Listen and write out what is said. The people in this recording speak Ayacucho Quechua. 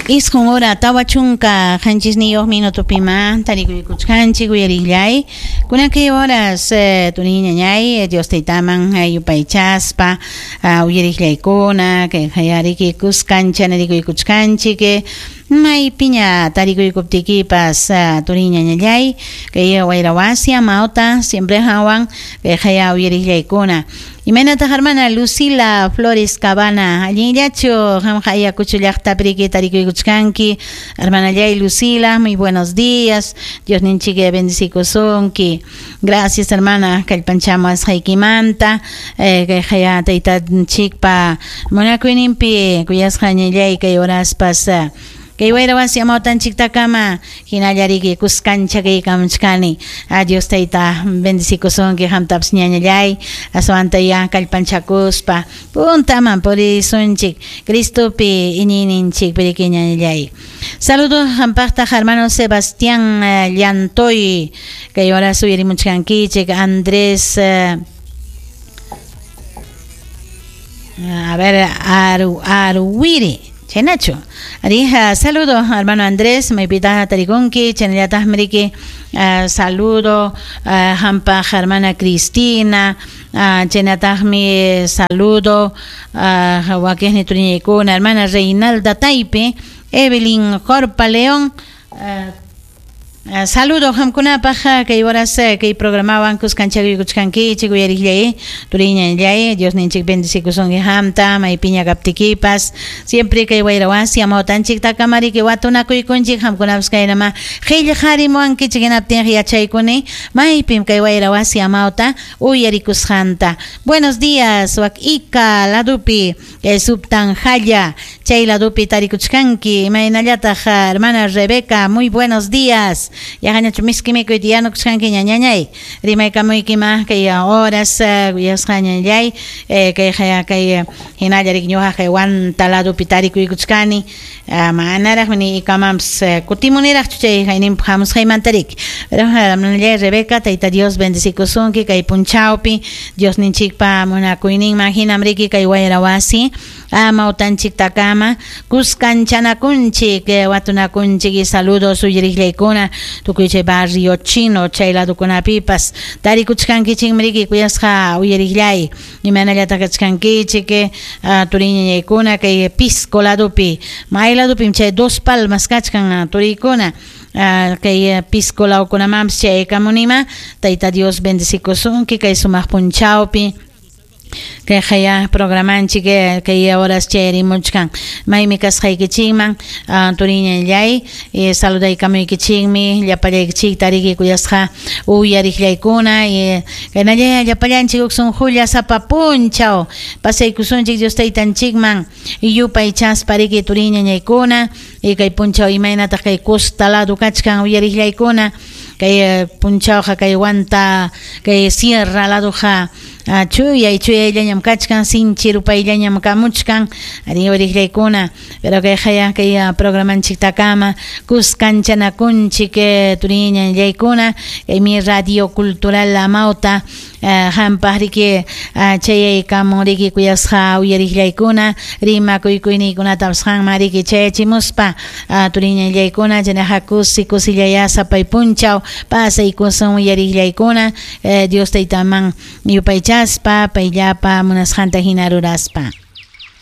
Isqun hora 47 minutopima tarikuykuchkanchik uyariqllay. Kunan kay horas turiy ñañay Dios taytaman yupaychaspa uyariqllaykuna kay qayariki kuskancha narikuykuchkanchik maypiña tarikuykuptikipas turiy ñañallay kay wayra wasi amawta siempre hawan kay qaya uyariqllaykuna. Imaynataq hermana Lucila Flores Cabana, allinllachu qamqa Ayacucho llaqtapi riki tarikuykuchkanki. Hermanallay Lucila, muy buenos días. Diosninchik bendecikusunki. Gracias hermana, kallpanchamuwasqaykimanta. Kay qaya taytanchikpa munakuyninpi kuyasqa ñallay kay horaspas kay wayra wasi amawtanchiktakama hinalla riki kuskancha kaykamuchkani. Dios tayta bendecikusunki qamtapas ñañallay aswanta ya kallpanchakuspa puntaman purisunchik Cristopi iñiyninchik riki ñañallay. Saludos qampaqtaq hermano Sebastián Llantoy kay horas uyarimuchkankichik Andrés a ver Aruwiri Chaynachu. Arija, saludo hermano Andrés, maypita tarikunki, chaynallataqmi riki saludo hampaq hermana Cristina, chaynataqmi saludo wakiqni turiñaykuna, hermana Reinalda Taipe, Evelyn Jorpa León, saludo qamkunapaq kay horas kay programawan kuskanchakuykuchkankichik uyariqllay turiñallay Diosninchik bendecikusunki qamta maypiña kaptikipas siempre kay wayra wasi amawtanchiktakama riki watunakuykunchik qamkunapas kaynama qillqarimuwankichik hinaptinqa yachaykuni maypim kay wayra wasi amawta uyarikusqanta. Buenos días wak Ica ladupi kay Subtanjalla chay ladupi tarikuchkanki imaynallataq hermana Rebeca, muy buenos días. Yaqañachu miski mikuyta yanukuchkanki ñañañay rimaykamuykima kay horas kuyasqa ñañallay kay kay hinalla riki ñuqa kay Huanta ladupi tarikuykuchkani manaraqmi ni ikamanpas kutimuniraqchu chay hayninpaq hamusqaymanta riki. Pero hermanallay Rebeca, tayta Dios bendecikusunki kay punchawpi Diosninchikpa munakuyninman hinam riki kay wayra wasi amawtanchiktakama kuskanchanakunchik watunakunchik y saludos uyariqllaykuna tukuy chay barrio chino chay ladukunapipas tarikuchkankichikmi riki kuyasqa uyariqllay imaynallataq kachkankichik turiñañaykuna kay Pisco ladupi may ladupim chay Dos Palmas kachkan turiykuna kay Pisco lawkunamanpas chayaykamunima tayta Dios bendecikusunki kay sumaq punchawpi kay qaya programanchik kay horas chayarimuchkan maymi kasqaykichikman turiñallay saludaykamuykichikmi llapallaykichikta riki kuyasqa uyariqllaykuna kaynalla llapallanchik huk sunqulla sapa punchaw pasaykusunchik Dios taytanchikman yupaychaspa riki turiñañaykuna kay punchaw imaynataq kay costa lado kachkan uyariqllaykuna kay punchawqa kay Huanta kay sierra laduqa chuyay chuyayllañam kachkan sinchi rupayllañam kamuchkan ari uyariqllaykuna pero kay qaya kay programanchiktakama kuskanchanakunchik turiñañaykuna kay mi radio cultural amawta qampaq riki chayaykamun riki kuyasqa uyariqllaykuna rimakuykuyninkunatapas qanman riki chayachimuspa turiñañaykuna chaynaqa kusi kusillaya sapay punchaw pasaykusun uyariqllaykuna Dios taytaman yupaychaspa payllapa munasqanta hina ruraspa.